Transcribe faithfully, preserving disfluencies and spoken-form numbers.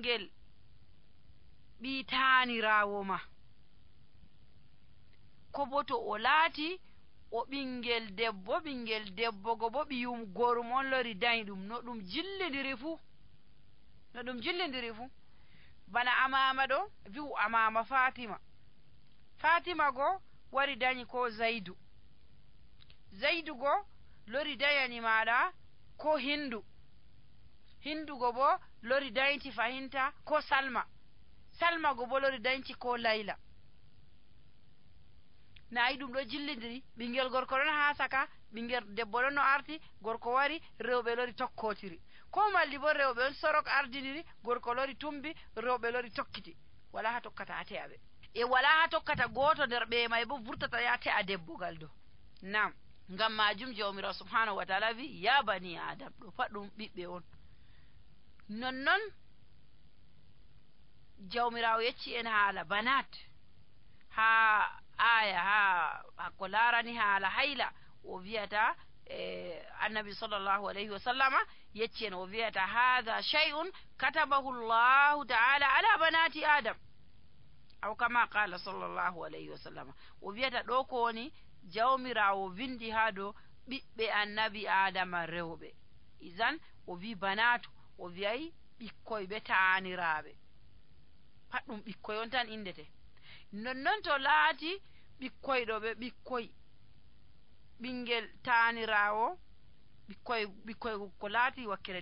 ɓingel ɓii taaniraawo ma. Ko bo to o laati o ɓingel debbo, ɓingel debbo go bo ɓiyum gorum on lori dañi ɗum, no ɗum jillindiri fuu. No ɗum jillindiri fuu. Bana Amaama ɗo, wi'u Amaama Faatima. Faatima go wari dañi ko Zaydu. Zaydu go lori dañani maaɗa ko Hindu. Hindu go bo lori dañti fahinta ko Salma. Salma go bo lori dañti ko Layla. Nayi ɗum ɗo jillindiri, ɓingel gorko ɗon haa saka, ɓingel debbo ɗon no arti, gorko wari, rewɓe lori tokkotiri. Ko malli bo rewɓe on sorok ardiniri, gorko lori tumbi, rewɓe lori tokkiti. Wala haa tokkata haa te'a ɓe. E wala haa tokkata gooto nder ɓe may bo vurtata ya te'a debbo gal do. Nam, ngam majum Jawmiraawo subhanahu wa ta'ala vi, "Ya bani Adam," ɗo pat ɗum ɓiɓɓe on. Nonnon Jawmiraawo yecci en haala banat, haa aya, haa, haa ko laarani haala hayla, o wi'ata, eh, Annabi sallallahu alayhi wa sallama yecci en, o wi'ata, "Hadha shay'un katabahu Allahu ta'ala ala banati Adam." Aw kama qala sallallahu alayhi wa sallama. O wi'ata ɗo ko woni Jawmiraawo windi haa dow ɓiɓɓe Annabi Adama rewɓe. Izan, o wi banatu, o wi'ay ɓikkoy ɓe taaniraaɓe. Pat ɗum ɓikkoy on tan indete. Nonnon to laati ɓikkoy ɗo ɓe ɓikkoy, ɓingel taaniraawo, ɓikkoy, ɓikkoy ko laati wakkere